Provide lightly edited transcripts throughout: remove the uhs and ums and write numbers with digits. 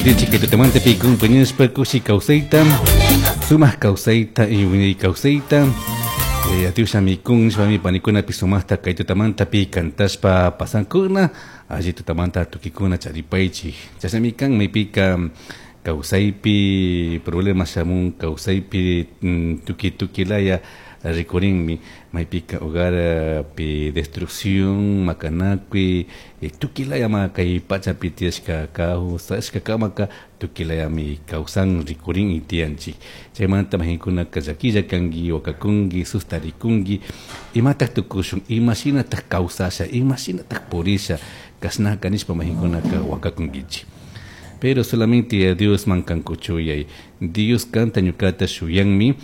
Yatichik kay tutamantapi compañashpa kushi kawsayta, sumak kawsayta y wiñay kawsayta Yatiushami kun nishpami panikunapi sumaqta kay tutamantapi cantashpa pasankuna, alli tutamanta tukikuna charipaychik. Chashnami kan maypika kawsaypi problema shamun, kawsaypi tuki tuki laya rikurinmi, maypika hogarpi destrucción, makanakuy, tukuy layama kay pachapi tiyashka kawsashka kamaka tukuy layami kawsan rikurin y tiyanchik. Chaymanta majinkunaka llaquilla kanki, wakakunki, sustarikunki, imatak tukushun, imashinatak kawsasha, imashinatak purisha, kashnaka nishpa majinkunaka wakakunkichik. Pero solamente a Diosman kankuchuyay, Dios kanta ñukata shuyanmi,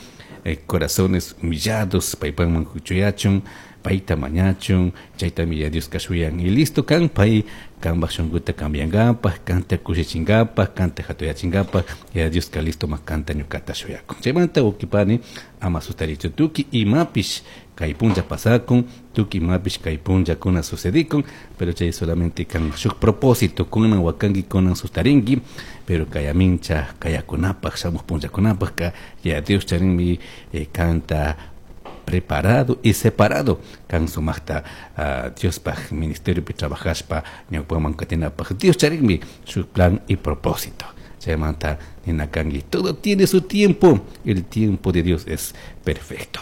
corazones humillados paypakman kuchuyachun, payta mañachun, chaytami ya Dioska shuyan. Y listo kan pay kanpak shunkuta cambiangapak, kanta kushichingapak, kanta hatuyachingapak, ya Dioska listo ma kanta ñukata shuyakun. Chaymanta wawkipani ama sustarichu tukuy imapish kay punlla pasakun, tukuy imapish kay punllakuna sucedikun, pero chay solamente kan shuk propósito, kunan wakanki, kunan sustarinki, pero kayamincha kayakunapak, shamuj punllakunapak ka ya Dios charinmi kanta preparado y separado kan sumaqta Diospaj ministeriopi trabajashpa ñawpaman katinapaj. Dios charinmi su plan y propósito. Chaymanta nina kanki, todo tiene su tiempo, el tiempo de Dios es perfecto.